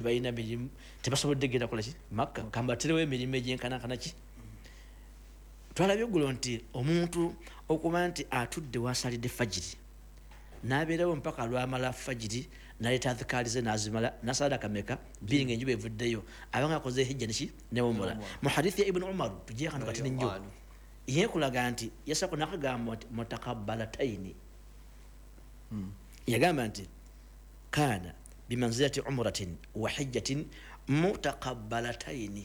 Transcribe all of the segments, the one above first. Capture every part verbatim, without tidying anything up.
Tebalina mirimu, tebasobodde genda kolaki Makka. Kambaterewo emirimu egyenkanankana ki. Twalabye eggulo nti omuntu okuba nti atudde wasalidde fajiri, nabeerawo mpaka lwamala fajiri, naleeta adhikaali ze, nazimala, nasala kameka bbiri nga enjuba evuddeyo, abanga akoze hijja neki newumula. Mu hadithi ya Ibuni Umaru tujeyo akantu katini nnyo yekulaga nti yasako nakagamba nti mutakabalataini. Yagamba nti kana bimanzilati umratin wa hijjatin mutakabalataini,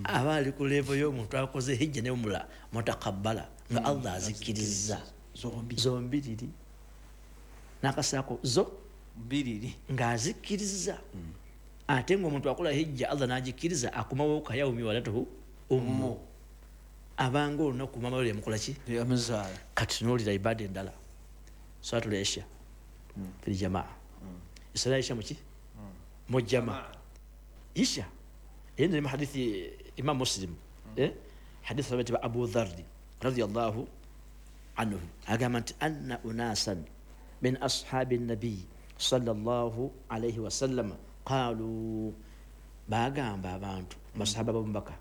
aba ali ku level y'omuntu akoze hijja newumula mutakabala, nga Allah azikkiriza zombi. Zombiriri nakasaako zo mbiriri. Ng'azikkiriza. Ate ngaomuntu akola hijja, Allah n'agikkiriza, akomawo kayaumi walatuhu ummu, abanga olunaku mama we yamukola ki? Yamuzaala. Kati tunuulira ibada endala, salatul isha fil jamaa. Esala isha muki? Mu jama. Isha eyendere mu hadithi Imam Muslim, eh? Hadithi sabati ba Abu Dharri radiyallahu anhu, agamba nti anna unasan min ashabi nabiyi sallallahu alaihi wasallama qalu, bagamba abantu basahaba bomubaka,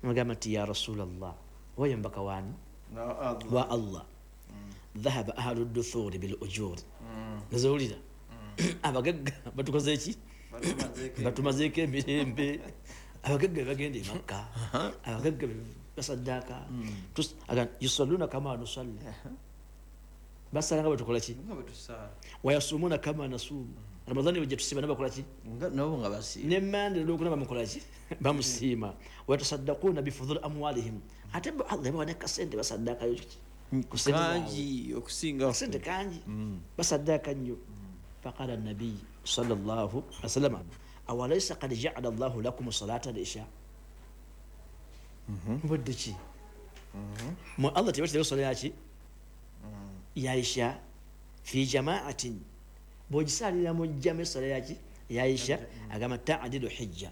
bagamba nti ya Rasulallah, oyo mubaka wani wa Allah, dhahaba ahlu duthuri bil ujuri. Nazowulira abagagga batukoze eki? Batumazeeko emirembe. Abagagga bebagenda emakka, abagagga basaddaaka. Tus- aga- yusalluna kama nusalli, basala nga bwetukola ki, wayasumuna kama nasuumu, Ramadhani bwejja tusiima, nabakola ki? Nabo nga basiima. Nemande olwokuna bamukola ki? Bamusiima. Wayatasaddaquna bifudhuli amwalihim, ate bo Allah yabawa nekasente, basaddakayo ki ku sente zaabwe. Kangi okusinga. Sente kangi, basaddaaka nnyo. Faqala nabiyi sallallahu alaihi wasallam, awalaisa kad jaala llahu lakum salata lisha? Mubadde ki mwe? Allah tebaterawo sola yaki ya isha fi jamaatin, bwogisalira mu jjama esola yaki ya isha, agamba tadilu hijja,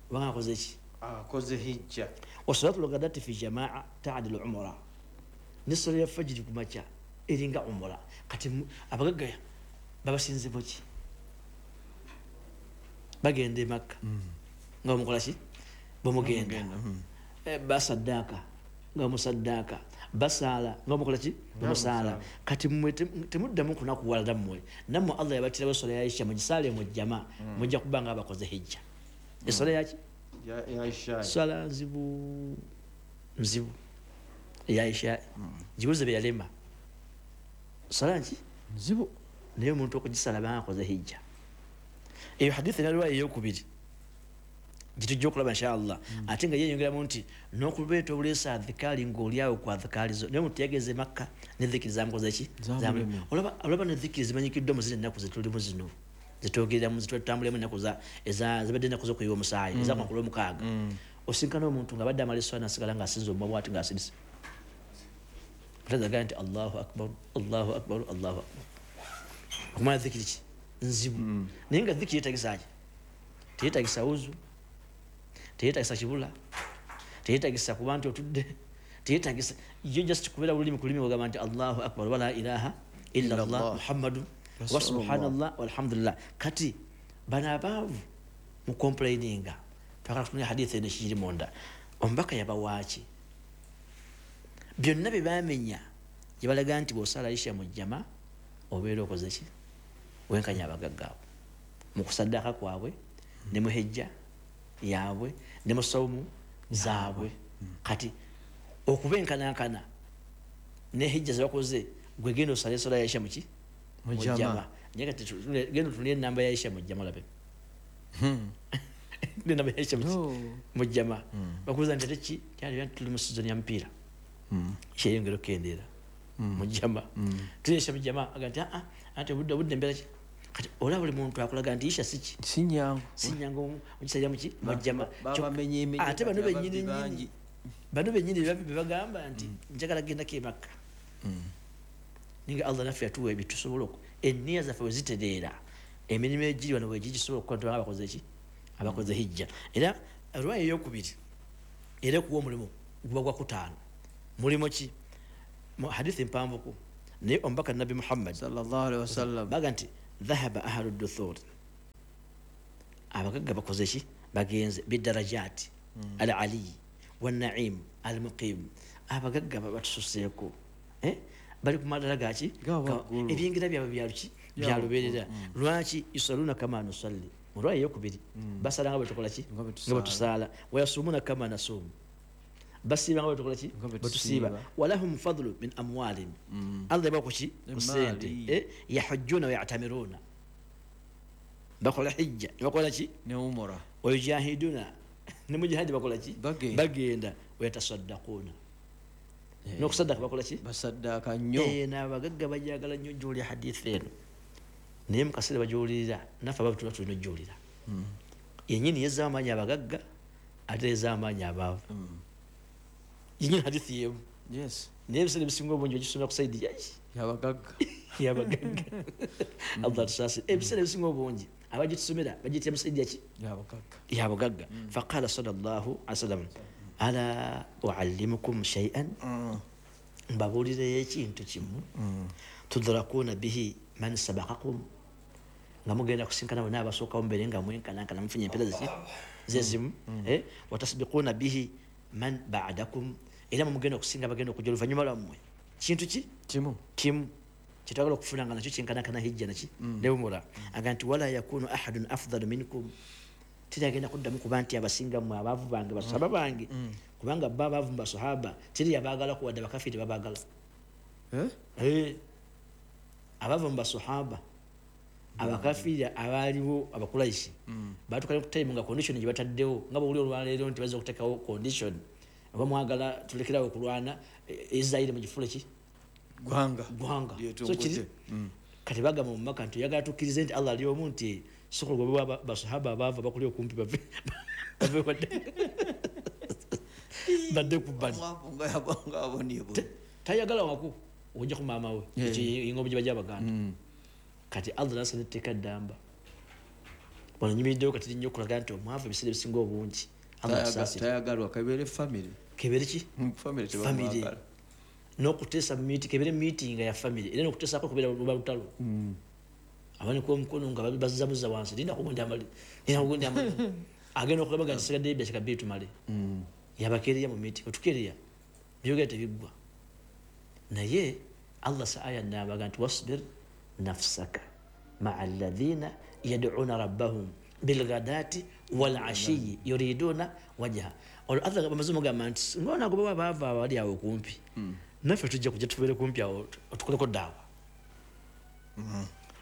obanga akoze ki? Akoze hijja. Wasalatu lgadati fi jamaa tadilu umura, nesola ya fajiri kumakya eringa umura. Kati mu- abagagga babasinze buki? Bagenda e Makka nga bamukola ki? Bamugenda. Eh, basaddaaka nga bamusaddaaka, basaala nga bamukola ki? Bamusaala. Kati mmwe tem- temuddamu kunakuwalala mmwe, nammwe Allah yabatirawo esola ya isha, mugisaale mu jjama, mujja kuba nga abakoze hijja. Esola yaki? Yaisha. Swala nzibu nzibu eya isha, gibuze beyalema swala nki? Nzibu. Naye omuntu okugisala banga akoze hijja. Eyo hadithi naliwa eyokubiri gitujja okulaba inshallah. Ate nga yeyongeramu nti n'okubeeta obuleesa adhikaali ng'oliawo ku adhikaali zo, naye omuntu yageze Makka ne dhikiri zamukoze ki? Zamulemye. Olaba olaba ne dhikiri zimanyikiddwa mu zino ennaku zetulimu zino zetwogereramu, zetutambulemu, ennaku za- eza- zibadde ennaku z'okuyiwa omusaayi ezamakulu omukaaga. Osinkana omuntu nga badde amala eswala, nasigala ng'asinza omumwa bwati ng'asirise, mutazagaa nti Allahu akbar, Allahu akbar, Allahu akbar. Okumanya dhikiri ki nzibu, naye nga dhikiri yetagisa ki? Teyetagisa wuzu, teyetagisa kibula, teyetagisa kuba nti otudde, teyetagisa yo, just kubeera lulimi ku lulimi, ogamba nti Allahu akbar wala ilaha illa llah Illallah. Muhammadu wa Rasulullah. Subhanallah walhamdulillah. Kati bano abaavu mu complaininga, twagala kutumya hadithi eno ekikiri munda. Omubaka yabawaaki? Byonna bye bamenya gyebalaga nti bwosala isha mu jjama obeera okoze ki? Wenkanya abagagga abo mu kusaddaaka kwabwe ne mu hejja yaabwe ne mu sawumu zaabwe. Kati okubenkanankana ne hejja zebakoze, gwe genda osale esola ya isha muki? Mu jama. Mujjama. Naye kati tu- genda otunule enamba ya isha mujjama, olabe enamba ya isha muki? No. Mujjama. Bakubuuza nti ate ki kyali? Tuli mu sizoni ya mupiira, kyeyongera okukendeera mujjama. Tulyesha mujjama, aga nti aa, anti obudde obudde embeera ki. Kati olaba buli muntu akulaga nti isha siki? Si nyangu. Sinyangu ogisalira muki? Mujjama. Babamenye emenye. Ate bano kati benyini ababbi bangi. nyini, bano benyini bebagamba nti njagala gendako emakka, ninga Allah naffe yatuwa ebyo tusobola oku eniya zaffe wezitereera, emirimu egiri wano wegigisobola okukola, tubanga abakoze ki? Abakoze hijja. Era olwayo eyokubiri era okuwa omulimu guba gwa kutaano. Mulimu ki? Mu hadithi mpanvuku, naye omubaka Nabbi Muhammad sallallahu alaihi wasallam baga nti dhahaba ahlu duthur. Abagagga bakoze ki? Bagenze bidarajati al ali wan na'im al muqim. Abagagga batususeeko eh bali ku madala gaki ebingira byabwe byaluki byaluberera. Lwaki yusaluna kama nusalli mulwaye yokubiri basala nga batukola ki nga batusaala wayasumuna kama nasumu basiba nga batukola ki batusiba walahum fadlu min amwalin Allah bakuki kusente eh yahujjuna wa ya'tamiruna bakola hijja bakola ki ne umra wayujahiduna ne mujahidi bakola ki bagenda wayatasaddaquna n'okusaddaka bakola ki basaddaka nnyo eh n'abagagga bajagala nnyo gy'oli hadithi eno naye mu kaseera bagyolirira naffe abavu tuba tulina ojjulira yennyini yezza amaanyi abagagga ate yezza amaanyi abaavu yennyini hadithi yemu yes naye ebiseera ebisinga obungi ogisomera ku saidi yaki yabagagga yabagagga Allah tusaasire ebiseera ebisinga obungi abagitusomera bagiyitira mu saidi yaki yabagagga yabagagga faqala sallallahu alaihi wasallam ala uallimukum shay'an mbabuulireyo ekintu kimu tudrakuna bihi man sabaqakum nga mugenda kusinkana bonna abasookawo mubeere nga mwenkanankana mufunye empeera ziki zezimu eh watasbiquna bihi man ba'dakum era mugenda okusinga bagenda okujja oluvannyuma lwammwe kintu ki kimu kimu kyetwagala okufuna nga nakyo kyenkanankana hijja naki ne umura aga nti wala yakunu ahadun afdalu minkum teri kuddamu kuba nti abasinga mmwe abaavu bange basahaba bange kubanga bo abaavu mu basahaba teri yabaagala kuwadde abakafiiri babaagala eh abava mu basahaba abakafiiri abaaliwo abakuraishi baatukale ku time nga condition gye bataddewo nga bw'oli olwaleero nti bazza okuteekawo condition oba mwagala tulekerawo okulwana Israeli mugifule ki gwanga gwanga so kiri kati bagamba mu Maka nti oyagala tukkirize nti Allah ali omu nti sokola gwe basahaba abaava bakuli okumpi bave bave badde badde ku bbali tayagala wako ojja ku maama we engombe gye bajja abaganda kati Allah nasa netteeka ddamba wano nyimiriddewo kati nnyo okulaga nti omwavu ebiseera ebisinga obungi Allah asaasire tayagalwa kabeere family kebeere ki family tebamwagala n'okuteesa meeting kebeere meeting ya family era n'okuteesaako kubeera luba lutalo abanika omukono nga bazzamuza wansi linda kugundi amale linda kugundi amale agenda okulabaga nti sigaddeyo ebyakiika bbiri tumale yabakeereya mu meeting otukeereya byogera tebiggwa naye Allah sa aya n'abaga nti wasbir nafsaka ma'a alladhina yad'una rabbahum bilghadati wal ashiyi yuriduna wajha olwo Allah bamaze mugamba nti ng'ona goba baava abali awo kumpi naffe tujja kujja tubeere kumpi awo otukoleko daawa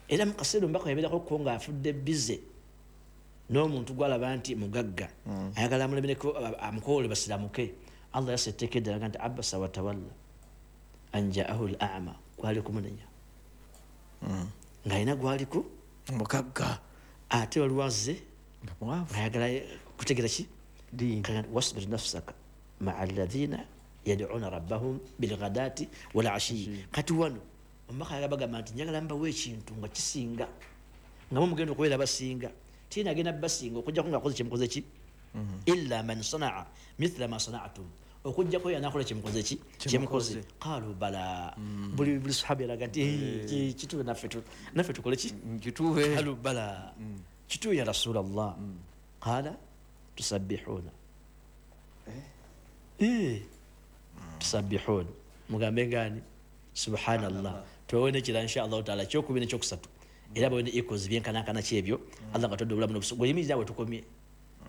era mu kaseera omubaka yabeerako ko ng'afudde bize n'omuntu gw'alaba nti mugagga ayagala amulemereko amukoole basiramuke Allah yassa etteeka eddala nti abasa watawalla an ja'ahu al-a'ma kwali kumunenya ng'alina gwaliku mugagga ate waliwo azze ayagala kutegeera ki wasbir nafsaka ma'a alladhina yad'una rabbahum bilghadati wal ashiyi kati wano omubaka ayagala bagamba nti njagala mbawe ekintu nga kisinga nga mumugenda okubeera basinga tina agenda basinga okujjako ng'akoze kyemukoze ki illa man sana'a mithla ma sana'tum okujjako yanakola kyemukoze ki kyemukoze qalu bala buli buli sahaba yalaga nti kituwe naffe naffe tukole ki kituwe qalu bala kituwe ya rasulallah qala tusabbihuna eh tusabbihuna mugambe ngani subhanallah tuwone kira insha Allah taala kyokubiri nekyokusatu era bawone equals byenkanankana kyebyo Allah katodde obulamu n'obusobozi bweyimirizaawe tukomye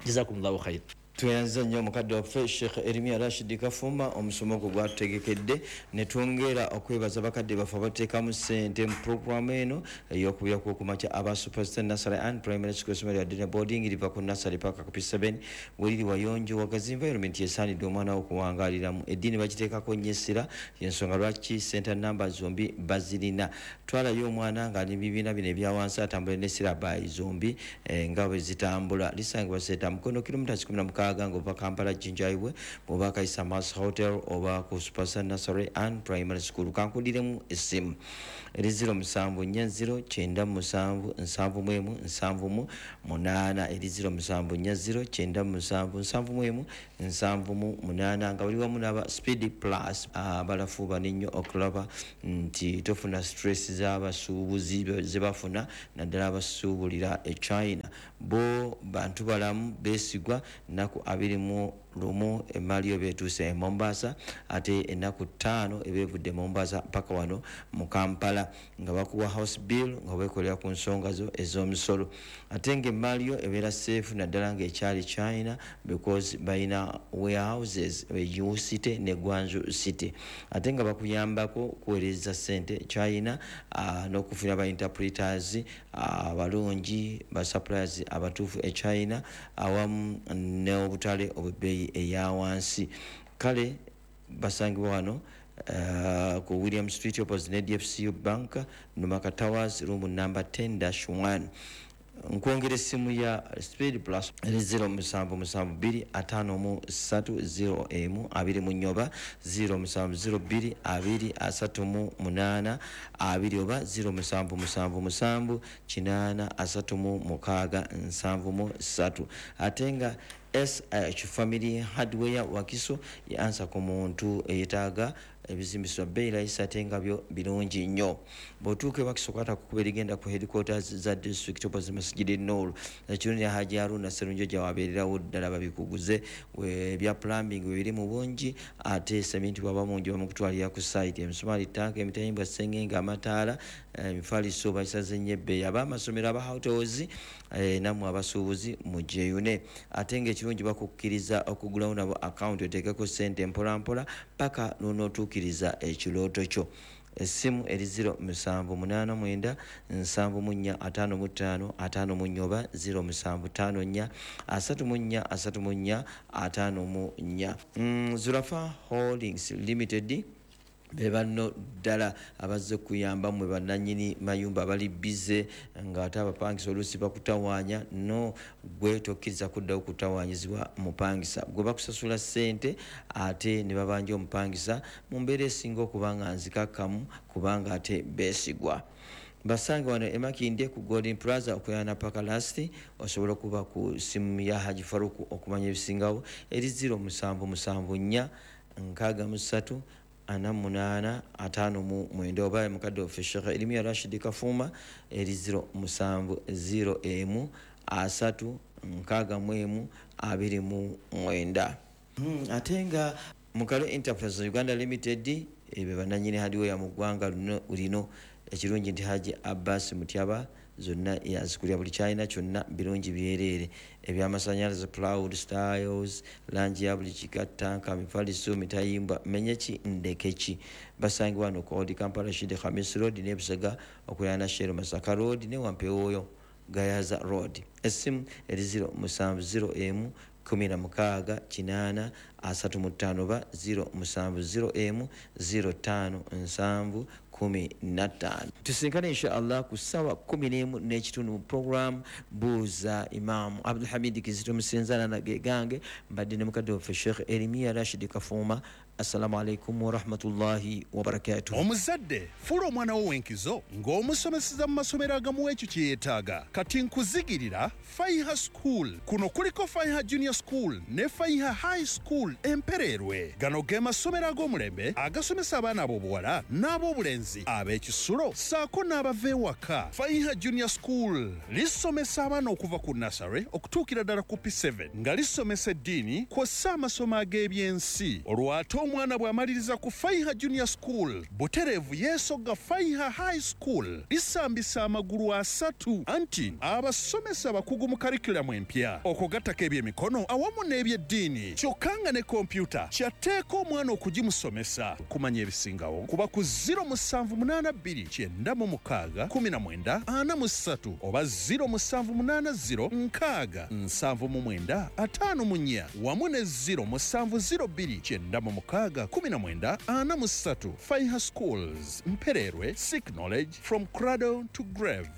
jazakumullahu khair. Tweyanza nnyo mukadde waffe Sheikh Eremia Rashid Kafumba omusomo gwo gwatutegekedde ne twongera okwebaza bakadde baffe abateekamu ssente mu puroguramu eno ey'okubira kw'okumakya aba Superstar Nursery and Primary School essomero lya Dina Boarding liva ku nursery paka ku P seven weriri wayonjo wagazi environment esaanidde omwana wo okuwangaaliramu eddiini bagiteekako nnyo essira y'ensonga lwaki center number zombi bazirina twalayo omwana ng'ali mu bibiina bino ebya wansi atambule ne sirabayi zombi nga bwe zitambula lisangibwa Seeta Mukono kilomita kikumi na mukaaga. mukaaga ng'ova Kampala Jinja Highway, bw'oba Kaisa Mas Hotel oba ku Superstar Nursery and Primary School. Kankudiremu essimu eri zero musanvu nnya zero kyenda musanvu nsanvu mu emu nsanvu mu munaana, eri zero musanvu nnya zero kyenda musanvu nsanvu mu emu nsanvu mu munaana, nga buli wamu n'aba Speed Plus abalafuuba nnyo okulaba nti tofuna stress z'abasuubuzi ze bafuna, naddala abasuubulira e China. Bo bantu balamu beesigwa. Nnaku abiri mu lumu emaali yo beetuuse e Mombasa, ate ennaku ttaano ebeevudde e Mombasa paka wano mu Kampala, nga bakuwa house bill nga weekolera ku nsonga zo ez'omusolo, ate ng'emaali yo ebeera safe naddala ng'ekyali China, because balina warehouses e U City ne Guangzhou City, ate nga bakuyambako kuweereza ssente China uh, n'okufuna ba interpreters abalungi, uh, ba suppliers abatuufu e China, awamu n'obutale obw'ebbeeyi eya wansi. Kale basangibwa wano uh, ku William Street opposite ne D F C U Bank, Numaka Towers, room number ten dash one. Nkwongera essimu ya Speed Plus eri zero musanvu musanvu bbiri ataano mu ssatu zero emu abiri mu nnya, zero musanvu zero bbiri abiri asatu mu munaana abiri, oba zero musanvu musanvu musanvu kinaana asatu mu mukaaga nsanvu mu ssatu. Ate nga S H Family Hardware Wakiso yansa ku muntu eyetaaga ebizimbiswa bbeeyi layisi ate nga byo birungi nnyo. Bw'otuuka e Wakiso kwata ku kkubo erigenda ku headquarters za district opposite Masjid Nur, ekirungi Haji Haruna Sserunjogi wabeererawo ddala babikuguze ebya plumbing we biri mu bungi, ate seminti bw'aba mungi bamukutwalira ku site, emisumaali, ttanka, emitayimbwa, ssengenge, amataala, emifaliso basaze nnyo ebbeeyi. Ab'amasomero, aba hotels nammwe abasuubuzi mugyeyune, ate ng'ekirungi bakukkiriza okugulawo nabo akawunti oteekeko ssente mpolampola paka lw'onootuukiriza ekirooto kyo. Essimu eri zero musanvu munaana mwenda nsanvu mu nnya ataano mu ttaano ataano mu nnya, oba zero musanvu ttaano nnya asatu mu nnya asatu mu nnya ataano mu nnya. Mm, Zurafa Holdings Limited be banno ddala abazze kuyamba mmwe bannannyini mayumba abali bize ng'ate abapangisa oluusi bakutawaanya. No, gwe tokkiriza kuddawo kutawaanyizibwa mupangisa. Gwe bakusasula ssente ate ne babanja omupangisa mu mbeera esinga okuba nga nzikakkamu, kubanga ate beesigwa. Basange wano e Makindye ku Golden Plaza okuliraana Paka Last. Osobola okuba ku ssimu ya Haji Faruku okumanya ebisingawo eri zero musanvu musanvu nnya nkaaga mu ssatu ana munaana ataano mu mwenda, oba mukadde waffe Sheikh Erimiya Rashid Kafuuma eri zero musanvu zero emu asatu nkaaga mu emu abiri mu mwenda. Hmm, ate nga Mukalo Enterprise Uganda Limited ebe bannannyini hardware mu ggwanga lino. Ekirungi nti Haji Abbas Mutyaba zonna yazikulira buli kyalina kyonna birungi byereere, ebyamasanyalaze, plywood styles, langi ya buli kika, ttanka, mifaliso, mitayimbwa, menye ki ndeke ki. Basangibwa wano ku Old Kampala Rashid Khamis Road ne Busega okuliraana Shell Masaka Road ne Wampewoyo Gayaza Road. Essimu eri zero musanvu zero emu kumi na mukaaga kinaana asatu mu ttaano, oba zero musanvu zero emu zero ttaano nsanvu kumi na ttaano. Tusinkane insha Allah ku ssaawa kumi n'emu n'ekitundu mu program Buuza Imaamu. Abdulhamid Kizito Musinzana na gegange mbadde ne mukadde waffe Sheikh Erimiya Rashid Kafuuma. Assalamu alaikum warahmatullahi wabarakatuh. Omuzadde fuula omwana wo w'enkizo ng'omusomeseza mu masomero agamuwa ekyo kye yeetaaga. Kati nkuzigirira Faiha School. Kuno kuliko Faiha Junior School ne Faiha High School Empereerwe. Gano ge masomero ag'omulembe agasomesa abaana ab'obuwala n'ab'obulenzi ab'ekisulo ssaako n'abava ewaka. Faiha Junior School lisomesa abaana okuva ku nursery okutuukira ddala ku P seven, nga lisomesa eddiini kw'ossa amasomo ag'ebyensi. Olw'ate omwana bw'amaliriza ku Faiha Junior School butereevu yeesogga Faiha High School. Lisambisa amagulu asatu anti abasomesa abakugu mu curriculum empya okugattako ebyemikono awamu n'ebyeddiini, kyokka nga ne kompyuta kyatteeka omwana okugimusomesa. Kumanya ebisingawo kuba ku zero musanvu musanvu munaana bbiri kyenda mu mukaaga kumi na mwenda ana mu ssatu oba ziro musanvu munaana ziro nkaaga nsanvu mu mwenda ataano mu nnya wamu ne ziro musanvu ziro bbiri kyenda mu mukaaga kumi na mwenda ana mu ssatu. Faiha Schools, Mpererwe, seek knowledge from cradle to grave.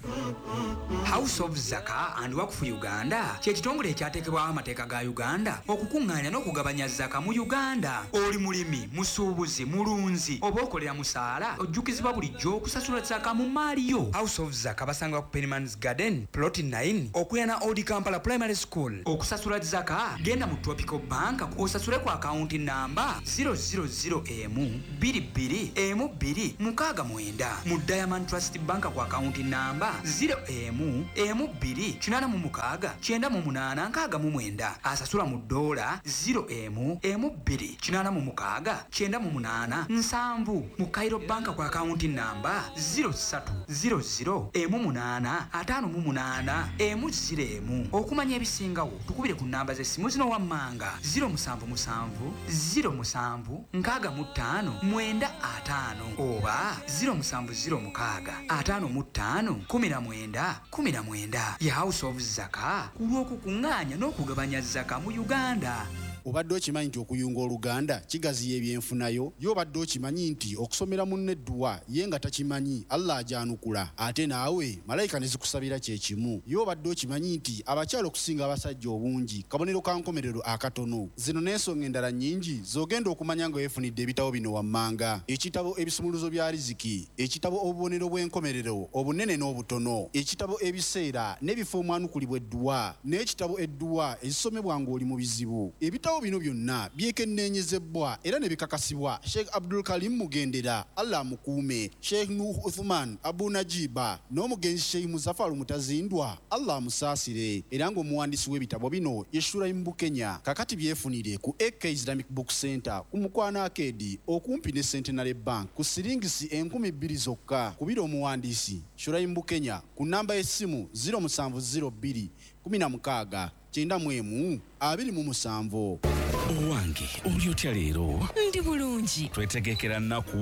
House of Zaka and Wakfu Uganda kye kitongole ekyateekebwawo amateeka ga Uganda okukuŋŋaanya n'okugabanya zaka mu Uganda. Oli mulimi, musuubuzi, mulunzi oba okolera musaala, ojjukizibwa bulijjo okusasula zaka mu maali yo. House of Zaka basangibwa ku Pennyman's Garden plot nine okuliraana Old Kampala Primary School. Okusasula zaka genda mu Tropical Bank osasule ku akawunti namba zero zero zero emu bbiri bbiri emu bbiri mukaaga mwenda, mu Diamond Trust Bank ku akawunti namba zero emu emu bbiri kinaana mu mukaaga kyenda mu munaana nkaaga mu mwenda. Asasula mu ddoola zero emu emu bbiri kinaana mu mukaaga kyenda mu munaana nsanvu, mu Cairo Bank ku akawunti namba zero ssatu zero zero emu munaana ataano mu munaana emu zero emu. Okumanya ebisingawo tukubire ku namba z'essimu zino wammanga zero musanvu musanvu zero musanvu nkaaga mu ttaano mwenda ataano oba zero musanvu zero mukaaga ataano mu ttaano kumi na mwenda kumi na mwenda. Ye House of Zaka ku lw'okukuŋŋaanya n'okugabanya zaka mu Uganda. Obadde okimanyi nti okuyunga oluganda kigaziya ebyenfunayo? Ye obadde okimanyi nti okusomera munne edduwa ye nga takimanyi Allah ajanukula, ate naawe malayika ne zikusabira kye kimu? Ye obadde okimanyi nti abakyala okusinga abasajja obungi kabonero ka nkomerero akatono? Zino n'ensonga endala nnyingi z'ogenda okumanya nga weefunidde ebitabo bino wammanga: ekitabo ebisumuluzo bya riziki, ekitabo obubonero bw'enkomerero obunene n'obutono, ekitabo ebiseera n'ebifo omwanukulibwa edduwa, n'ekitabo edduwa ezisomebwa ng'oli mu bizibu. Ebitabo bino byonna byekenneenyezebwa era ne bikakasibwa Sheikh Abdul Karim Mugendera, Allah amukuume, Sheikh Nuh Uthman Abu Najiba n'omugenzi Sheikh Muzaffar Mutazindwa, Allah amusaasire. Era ng'omuwandiisi w'ebitabo bino ye Shuraim Bukenya. Kakati byefunire ku A K Islamic Book Center ku Mukwano Arcade okumpi ne Centenary Bank ku siringisi enkumi bbiri zokka. Kubira omuwandiisi Shuraim Bukenya ku namba y'essimu ziro musanvu ziro bbiri kumi na mukaaga kyenda mu emu abiri mu musanvu. Owange, oli otya leero? Ndi bulungi. Twetegekera nnaku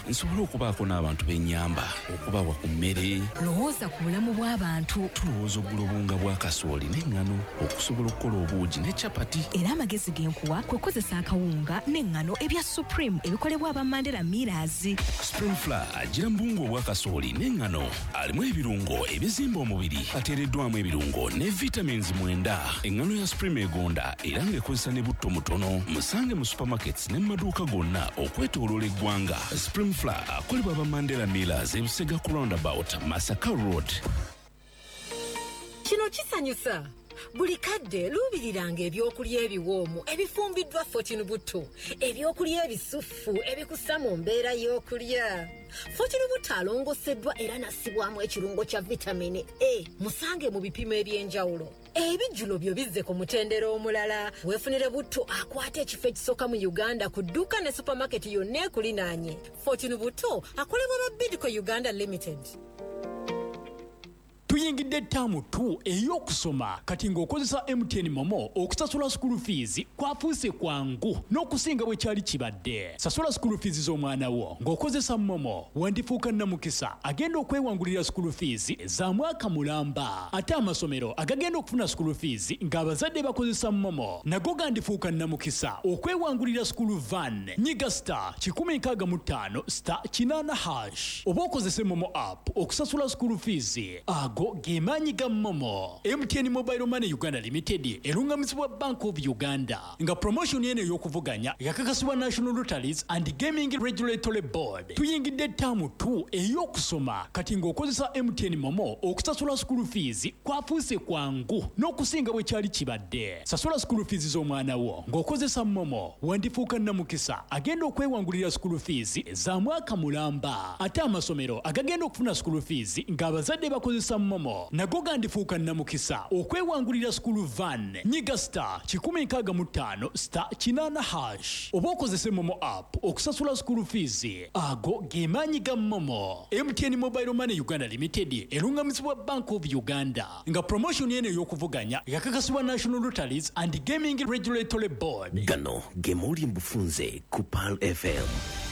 nsobole okubaako n'abantu b'ennyamba, okubawa ku mmere. Lowooza ku bulamu bw'abantu. Tulowooza okugula obuwunga bwa kasooli n'eŋŋano okusobola okukola obuugi ne capati. Era amagezi ge nkuwa kwe kukozesa akawunga n'eŋŋano ebya Supreme ebikolebwa aba Mandela Millers. Supreme Flour agira mu buwunga obwa kasooli n'eŋŋano, alimu ebirungo ebizimba omubiri, ateereddwamu ebirungo ne vitamins mwenda. Eŋŋano ya Supreme egonda era ng'ekozesa ne butto mutono. Musange mu supermarkets ne mu maduuka gonna okwetooloola eggwanga. Supreme Flour akolebwa aba Mandela Millers, Ebusega ku roundabout, Masaka Road. Kino kisanyusa. Buli kadde luubiriranga ebyokulya ebiwoomu ebifumbiddwa Fortune Butto, ebyokulya ebisufu ebikussa mu mbeera y'okulya. Fortune Butto alongoseddwa era n'assibwamu ekirungo kya vitamini A. Musange mu bipimo eby'enjawulo. Ebijjulo byo bizze ku mutendera omulala. Weefunire butto akwata ekifo ekisooka mu Uganda ku dduuka ne supermarket yonna ekulinaanye. Fortune Butto akolebwa ba Bidco Uganda Limited. Tuyingidde ttaamu two ey'okusoma kati ng'okozesa M T N Momo okusasula school fees kwafuuse kwangu n'okusinga bwe kyali kibadde. Sasula school fees z'omwana wo ng'okozesa Momo, wandifuuka nnamukisa agenda okwewangulira school fees za mwaka mulamba. Ate amasomero agagenda okufuna school fees ng'abazadde bakozesa Momo nago gandifuuka nnamukisa okwewangulira school van. Nyiga star kikumi nkaaga mu ttaano star kinaana hash oba okozese Momo app okusasula school fees. Ago gemaanyi ga Momo. M T N Mobile Money Uganda Limited erungamizibwa Bank of Uganda nga promotion eno ey'okuvuganya yakakasibwa National Lotteries and Gaming Regulatory Board. Tuyingidde ttaamu two ey'okusoma kati ng'okozesa M T N Momo okusasula school fees kwafuuse kwangu n'okusinga bwe kyali kibadde. Sasula school fees z'omwana wo ng'okozesa Momo, wandifuuka nnamukisa agenda okwewangulira school fees za mwaka mulamba. Ate amasomero agagenda okufuna school fees ng'abazadde bakozesa Momo nago gandifuuka nnamukisa okwewangulira school van. Nyiga star kikumi nkaaga mu ttaano star kinaana hash oba okozese Momo app okusasula school fees. Ago gemaanyi ga Momo. M T N Mobile Money Uganda Limited erungamizibwa Bank of Uganda nga promotion eno ey'okuvuganya yakakasibwa National Lotteries and Gaming Regulatory Board. Gano gemuli mbufunze ku Pearl F M.